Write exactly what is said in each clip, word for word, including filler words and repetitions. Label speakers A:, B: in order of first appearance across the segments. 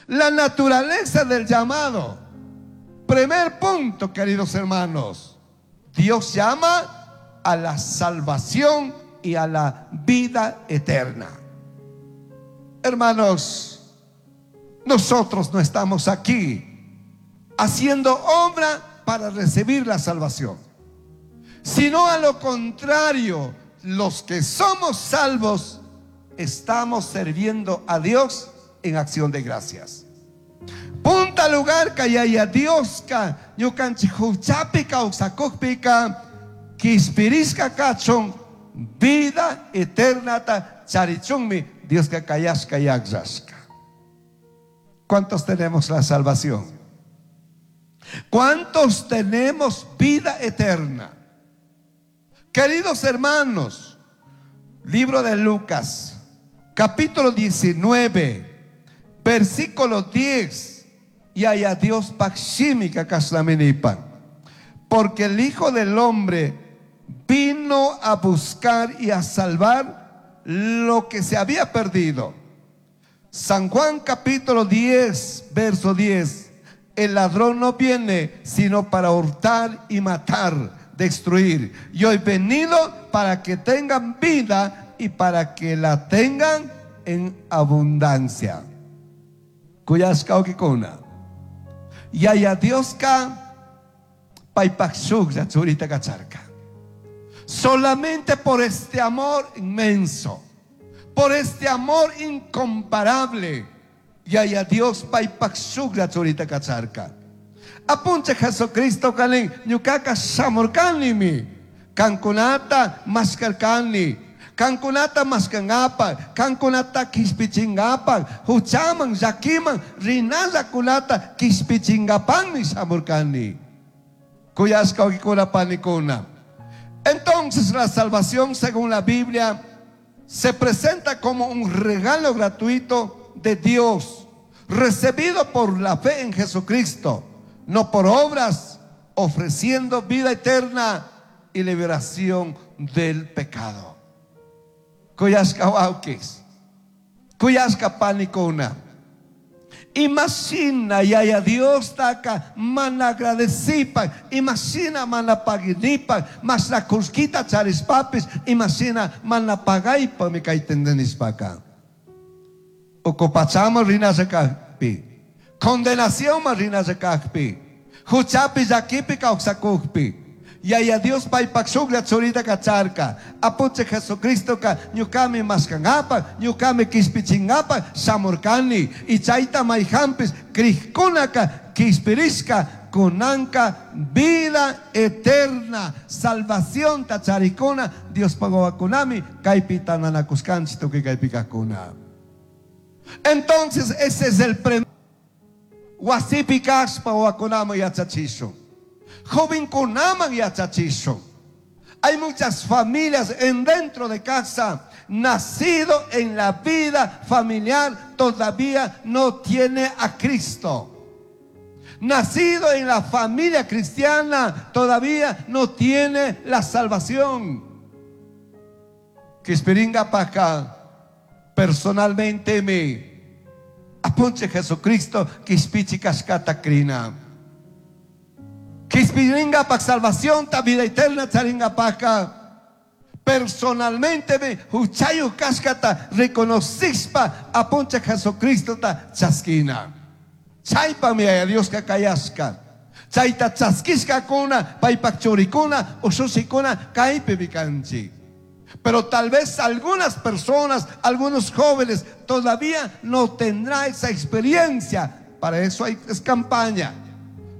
A: La naturaleza del llamado. Primer punto, queridos hermanos. Dios llama a la salvación y a la vida eterna. Hermanos, nosotros no estamos aquí haciendo obra para recibir la salvación, sino a lo contrario, los que somos salvos estamos sirviendo a Dios en acción de gracias. Punta lugar Yaya Dioska ñukanchik huchapi kawsakukpika kishpirishka kachun vida eternata charichunmi Dioska kayashka akllashka. ¿Cuántos tenemos la salvación? ¿Cuántos tenemos vida eterna? Queridos hermanos, libro de Lucas, capítulo diecinueve, versículo diez. Yaya Diospaj shimika kashnami nipan. Porque el Hijo del Hombre vino a buscar y a salvar lo que se había perdido. San Juan capítulo diez, verso diez. El ladrón no viene sino para hurtar y matar, destruir. Yo he venido para que tengan vida y para que la tengan en abundancia. Kuyashka wawkikuna. Yaya Dioska paipaj shujlla churita kacharka. Solamente por este amor inmenso, por este amor incomparable, Yaya Dios paipaj shujlla churita kacharka. Apunchij Jesucristo kanin, ñukaka shamurkanimi, kankunata mashkarkani, kankunata mashkangapa, kankunata kishpichingapa, huchaman, llakiman, rinallakunata kishpichingapanmi shamurkani. Kuyashka wawkikuna panikuna. Entonces la salvación, según la Biblia, se presenta como un regalo gratuito de Dios, recibido por la fe en Jesucristo, no por obras, ofreciendo vida eterna y liberación del pecado. Kuyashka wawkis, kuyashka panikuna. Imashina Yaya Diostaka mana agradecipa, imashina mana paginipa, mashna kullkita charishpapis, imashina mana pagaipa mi kayta Ucu pachaman rinalla kajpi, condenación rinalla kajpi, huchapi llakipi kawsakukpi. Yaya Dios paypak shuklla churita kacharka. Apunchij Jesucristo ka ñukami mashkangapa, ñukami kishpichingapa shamurkani. Y chayta mayhampis crijkunaka kishpirishka kunanka vida eterna, salvación ta charikuna, Dios pagawakunami kaypi tandanakushkanchik tukuy kaypi kajkuna. Entonces ese es el premio. Wasipi kashpa wawakunaman yachachishun. Jovenkunaman yachachishun. Hay muchas familias en dentro de casa, nacido en la vida familiar, todavía no tiene a Cristo. Nacido en la familia cristiana, todavía no tiene la salvación. Kishpiringapajka, personalmente mi Apunchij Jesucristo, kishpichij kashkata krina. Kishpiringapaj salvación, ta vida eterna charingapajka. Personalmente me huchayu kashkata reconocishpa Apunchij Jesucristo ta chaskina. Chaypami Yaya Dioska kayashka. Chayta chaskishkakuna, paypak churikuna, ushushikuna, kaypimi kanchik. Pero tal vez algunas personas, algunos jóvenes todavía no tendrán esa experiencia. Para eso hay, es campaña.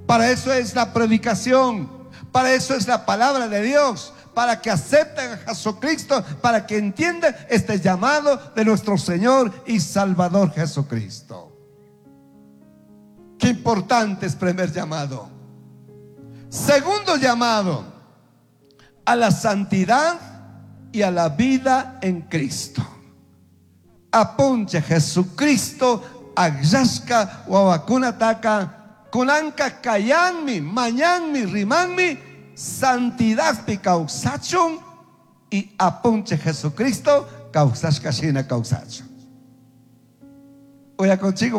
A: Para eso es la predicación. Para eso es la palabra de Dios. Para que acepten a Jesucristo, para que entiendan este llamado de nuestro Señor y Salvador Jesucristo. Qué importante es primer llamado. Segundo llamado, a la santidad y a la vida en Cristo. Apunchij Jesucristo, akllashka wawakunataka, kunanka kayanmi, mañanmi, rimanmi, santidadpi kawsachun y Apunchij Jesucristo kawsashka shina kawsachun. Oya contigo.